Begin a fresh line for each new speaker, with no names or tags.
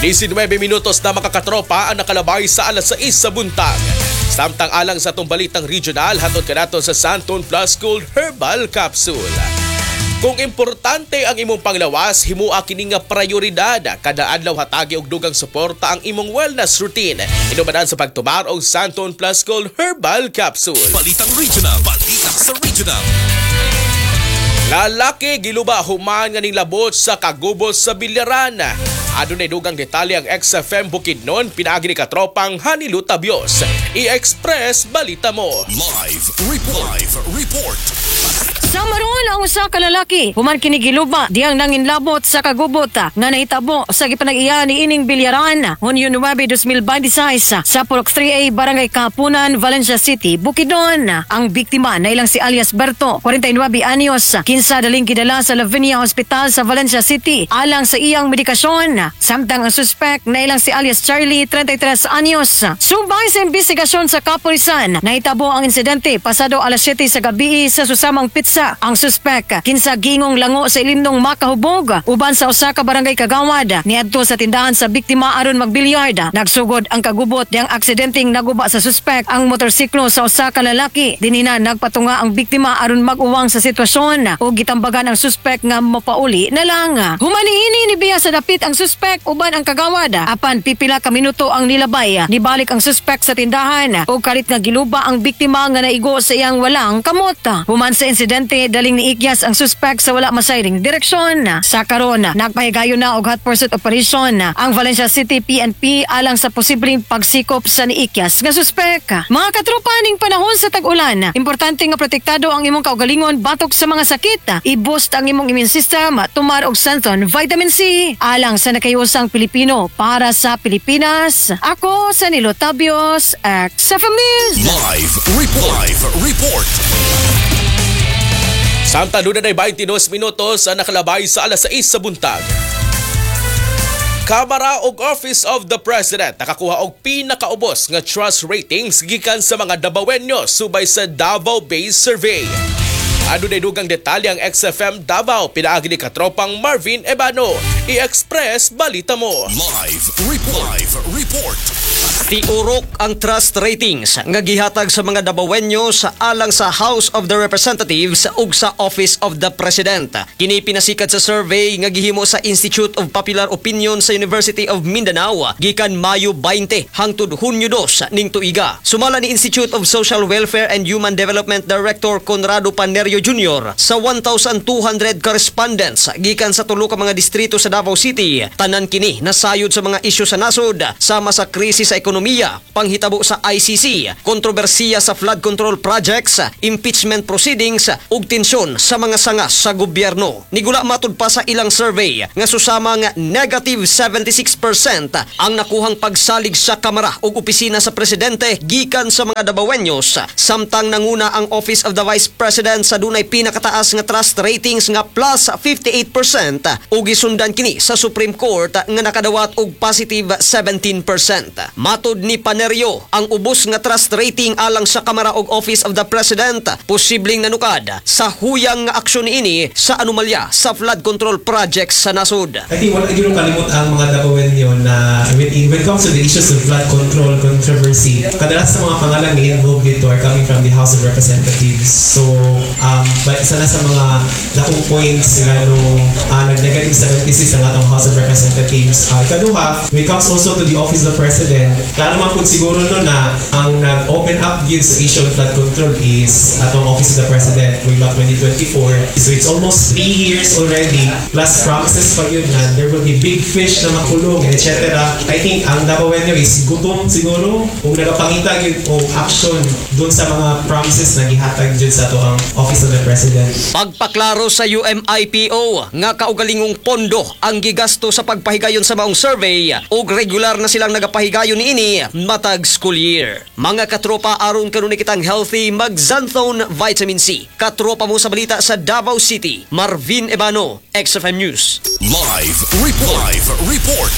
19 minutos na, mga katropa, ang nakalabay sa alas 6 sa buntag. Samtang alang sa atong balitang regional, hatod kanato sa Xanthone Plus Gold Herbal Capsule. Kung importante ang imong panglawas, himua kini nga prioridad. Kada adlaw, hatagi og dugang suporta ang imong wellness routine. Inumanan sa pagtumar og Xanthone Plus Gold Herbal Capsule.
Balitang Regional. Balita sa Regional.
Lalaki giluba human nga ninglabot sa kagubot sa bilyaran. Adunay dugang detalye ang XFM Bukidnon pinaagi ni katropang Hanilu Tabios. I-Express Balita mo.
Live Report. Live Report.
Sa maroon ang usa ka lalaki, human kini giluba diyang nanginlabot sa kagubot nga nahitabo sa gipanag-iya ni ining bilyaran Hunyo 9, 2026 sa Purok 3A, Barangay Kapunan, Valencia City, Bukidnon. Ang biktima na ilang si alias Berto, 49 anyos, kinsa daling gidala sa Lavinia Hospital sa Valencia City alang sa iyang medikasyon. Samtang ang suspect na ilang si alias Charlie, 33 anyos. Subay sa investigasyon sa kapulisan, nahitabo ang insidente pasado alas 7 sa gabi sa Susamang Pizza. Ang suspect, kinsa gingong lango sa ilimnong makahubog uban sa usa ka barangay kagawad, niadto sa tindahan sa biktima aron magbilyard. Nagsugod ang kagubot diyang aksidenteng naguba sa suspect ang motorsiklo sa usa ka lalaki. Dinhi na nagpatunga ang biktima aron mag-uwang sa sitwasyon ug gitambagan ang suspect nga mapauli na lang. Human niini, nibiya sa dapit ang suspect uban ang kagawad. Apan pipila ka minuto ang nilabay, nibalik ang suspect sa tindahan ug kalit nga giluba ang biktima nga naigo sa iyang walang kamot. Human sa insidente, daling niikyas ang suspect sa wala masayring direksyon. Sa karon, nagpahigayon na og hot pursuit operation ang Valencia City PNP alang sa posibleng pagsikop sa niikyas nga suspect. Mga katropa, ning panahon sa tag-ulan, importante nga protektado ang imong kaugalingon batok sa mga sakit. I-boost ang imong immune system, tumar og Xanthone Vitamin C alang sa nakahiusang Pilipino para sa Pilipinas. Ako sa Nilo Tabios, XFM News.
Live Report. Live Report.
Samtang duna 22 minutos ang nakalabay sa alas 6 sa buntag. Kamara ug Office of the President nakakuha og pinakaubos nga trust ratings gikan sa mga Dabawenyo subay sa Davao-based survey. Adunay dugang detalye ang XFM Davao pinaagi ni katropang Marvin Ebano. I-Express Balita mo.
Live Report. Live Report.
Tiurok ang trust ratings nga gihatag sa mga Dabawenyo sa alang sa House of the Representatives ug sa Office of the President. Kini pinasikat sa survey nga gihimo sa Institute of Popular Opinion sa University of Mindanao gikan Mayo 20 hangtod Hunyo 2 ning tuiga. Sumala ni Institute of Social Welfare and Human Development Director Conrado Panerio Jr., sa 1,200 ka respondents gikan sa tulo ka mga distrito sa Davao City, tanan kini nasayod sa mga isyu sa nasod sama sa krisis sa ekonomiya, panghitabo sa ICC, kontrobersiya sa flood control projects, impeachment proceedings ug tensyon sa mga sanga sa gobyerno. Nigula matud pa sa ilang survey nga susamang negative 76% ang nakuhang pagsalig sa Kamara ug opisina sa presidente gikan sa mga Dabawenyos, samtang nanguna ang Office of the Vice President sa dunay pinakataas nga trust ratings nga plus 58% ug gisundan kini sa Supreme Court nga nakadawat og positive 17%. Matod ni Panerio, ang ubos nga trust rating alang sa Kamara ug Office of the President posibleng nanukad sa huyang nga aksyon niini sa anomalya sa flood control projects sa nasod.
I think wala gyud kalimot ang mga Dabawenyo na when it comes to the issues of flood control controversy, kadalas sa mga pangalan nga involved dito are coming from the House of Representatives. So, but isa na sa mga dakong points nga no, nag-negative 76 ang atong House of Representatives. Ikaduha, when it comes also to the Office of the President, klaro man pud siguro no na ang nag-open up gyud sa issue of flood control is atong Office of the President way back 2024. So it's almost 3 years already, plus promises pa yun na there will be big fish na makulong, etc. I think ang Dabawenyo is gutom siguro kung nagapangita gyud og action dun sa mga promises na gihatag gyud sa atoang Office of the President.
Pagpaklaro sa UMIPO nga kaugalingong pondo ang gigasto sa pagpahigayon sa maong survey ug regular na silang nagapahigayon niini matag school year. Mga katropa, aron kanunay kitang healthy, mag Xanthone Vitamin C. Katropa mo sa balita sa Davao City, Marvin Ebano, XFM News.
Live Report. Live Report.